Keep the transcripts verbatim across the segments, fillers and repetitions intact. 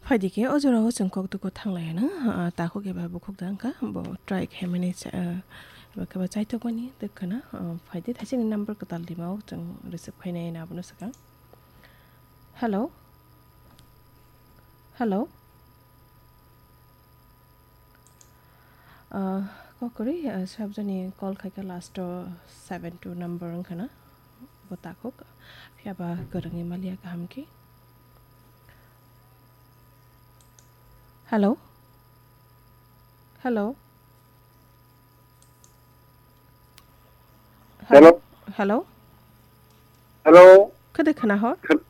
Phaidi khe o jorao chwng kok tuku thanglaiyano, ah, takhuk eba bukhuk da wngkha, bo try khaimani cha-, ah, eba khe ba chaitokmani tei khwna, ah, phaidi thaisini number kwtal dima o chwng receive khainai abono swkang. Hello? Hello? Ah, kok kwrwi, ah, sabjani call khaikha last o seven two number wngkhana, bo takhuk, phiya ba kwrwngwi maliya kaham khe. Hello? Hello? Hello? Hello? Hello? Khede khana hor? Hel-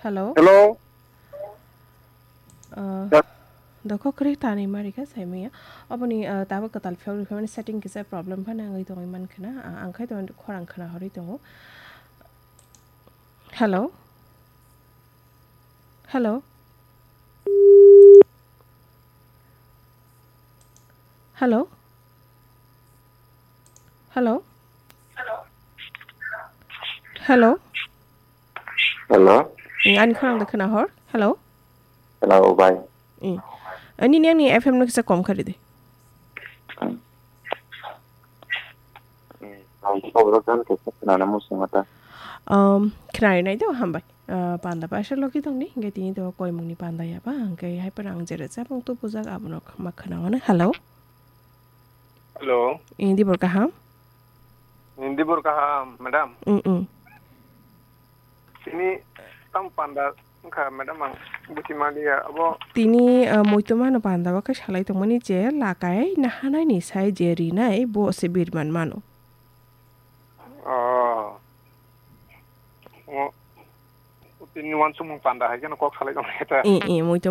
Hello? Hello? Uh, Ya. Doko kri tani marika saimaya. Aboni, uh, tabo katal phiyok rikha mani setting kisa problem phana ngwi tongwi man khana. Uh, ang khai to khorang khana horwi tongo. Hello? Hello? Hello? Hello? Hello? Hello? Eh, ani khorang da khana hor? Hello? Hello, bye. Eh. Ani ni ani F M no kisa kom khari de. Hmm. Hmm, ang to bro kan ke na na mo sungata. Um, khna ri nai do, hambai. Ah, panda paisa logi tong ni, hingke tini to koimung ni panda ya ba, hingke hai pora ang jere cha bung tu bujak abono ma khna wano. Hello? Hello. Indi bor kaham? Indi bor kaham, madam. Mm, mm. Tini tam panda wngkha, madam, ang buchi maliya, abo. Tini, ah, muitu mano panda o khe salai tongmani je lakai nahanai ni sai je rinai bo se birman mano. Oh. O, tini wansukmung panda hai kheno kok salai tongmani ta. Eh, eh, muitu